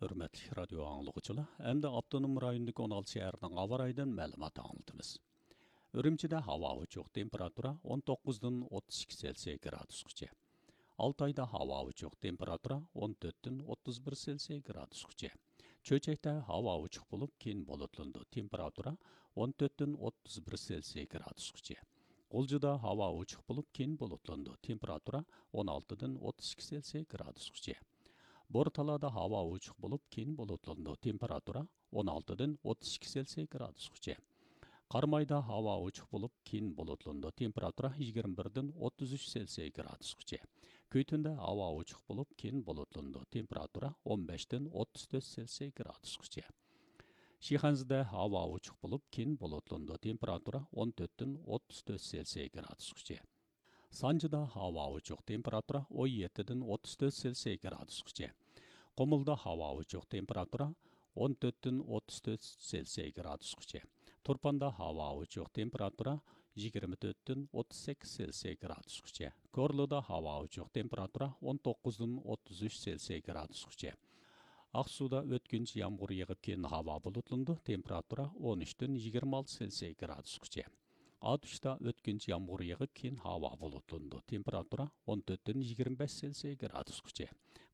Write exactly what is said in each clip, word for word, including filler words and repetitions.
ھۆرمەتلىك رادىيو ئاڭلىغۇچىلار، ئەمدى ئاپتونوم رايوندىكى ئون ئالتە شەھەرنىڭ ھاۋا رايىدىن مەلۇمات ئاڭلىتىمىز. ئۈرۈمچىدە ھاۋا ئوچۇق، تېمپېراتۇرا ئون توققۇزدىن ئوتتۇز ئىككى سېلسىيە گرادۇسقىچە. ئالتايدا ھاۋا ئوچۇق، تېمپېراتۇرا ئون تۆتتىن ئوتتۇز بىر سېلسىيە گرادۇسقىچە. چۆچەكتە ھاۋا ئوچۇق بولۇپ، كېيىن بۇلۇتلىنىدۇ، تېمپېراتۇرا ئون تۆتتىن ئوتتۇز بىر سېلسىيە گرادۇسقىچە. غۇلجىدا ھاۋا ئوچۇق بولۇپ، كېيىن بۇلۇتلىنىدۇ، تېمپېراتۇرا ئون ئالتىدىن ئوتتۇز ئىككى سېلسىيە گرادۇسقىچە. بورتالادا ھاۋا ئوچۇق بولۇپ، كېيىن بۇلۇتلىنىدۇ، تېمپېراتۇرا ئون ئالتىدىن ئوتتۇز ئىككى سېلسىيە گرادۇسقىچە. قارامايدا ھاۋا ئوچۇق بولۇپ، كېيىن بۇلۇتلىنىدۇ، تېمپېراتۇرا يىگىرمە بىردىن ئوتتۇز ئۈچ سېلسىيە گرادۇسقىچە. كۈيتۈندە ھاۋا ئوچۇق بولۇپ، كېيىن بۇلۇتلىنىدۇ، تېمپېراتۇرا ئون بەشتىن ئوتتۇز تۆت سېلسىيە گرادۇسقىچە. شىخەنزىدە ھاۋا ئوچۇق بولۇپ، كېيىن بۇلۇتلىنىدۇ، تېمپېراتۇرا ئون تۆتتىن ئوتتۇز تۆت سېلسىيە گرادۇسقىچە. سانجىدا ھاۋا ئوچۇق، تېمپېراتۇرا ئون يەتتىدىن ئوتتۇز تۆت سېلسىيە گرادۇسقىچە. قۇمۇلدا ھاۋا ئوچۇق، تېمپېراتۇرا ئون تۆتتىن ئوتتۇز تۆت سېلسىيە گرادۇسقىچە. تۇرپاندا ھاۋا ئوچۇق، تېمپېراتۇرا يىگىرمە تۆتتىن ئوتتۇز سەككىز سېلسىيە گرادۇسقىچە. كورلىدا ھاۋا ئوچۇق، تېمپېراتۇرا ئون توققۇزدىن ئوتتۇز ئۈچ سېلسىيە گرادۇسقىچە. ئاقسۇدا ئۆتكۈنچى يامغۇر يېغىپ، كېيىن ھاۋا بۇلۇتلىنىدۇ، تېمپېراتۇرا ئون ئۈچتىن يىگىرمە ئالتە سېلسىيە گرادۇسقىچە. ئاتۇشتا ئۆتكۈنچى يامغۇر يېغىپ، كېيىن ھاۋا بۇلۇتلىنىدۇ، تېمپېراتۇرا ئون تۆتتىن يىگىرمە بەش سېلسىيە گرادۇسقىچە.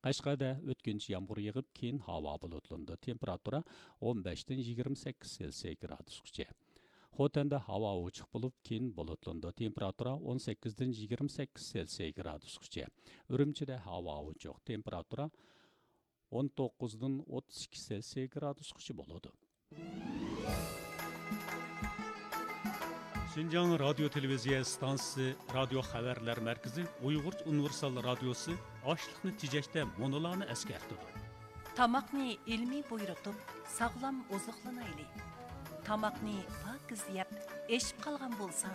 قەشقەردە ئۆتكۈنچى يامغۇر يېغىپ، كېيىن ھاۋا بۇلۇتلىنىدۇ، تېمپېراتۇرا ئون بەشتىن يىگىرمە سەككىز سېلسىيە گرادۇسقىچە. خوتەندە ھاۋا ئوچۇق بولۇپ، كېيىن بۇلۇتلىنىدۇ، تېمپېراتۇرا ئون سەككىزدىن يىگىرمە سەككىز سېلسىيە گرادۇسقىچە. ئۈرۈمچىدە ھاۋا ئوچۇق، تېمپېراتۇرا ئون توققۇزدىن ئوتتۇز ئىككى سېلسىيە گرادۇسقىچە بولىدۇ. شىنجاڭ رادىيو تېلېۋىزىيە ئىستانسىسى رادىيو خەۋەرلەر مەركىزى ئۇيغۇرچە ئۇنىۋېرسال رادىيوسى ئاشلىقنى تېجەشتە مۇنۇلارنى ئەسكەرتىدۇ. تاماقنى ئىلمىي بۇيرۇتۇپ، ساغلام ئوزۇقلىنايلى. تاماقنى پاكىز يەپ، ئېشىپ قالغان بولسا،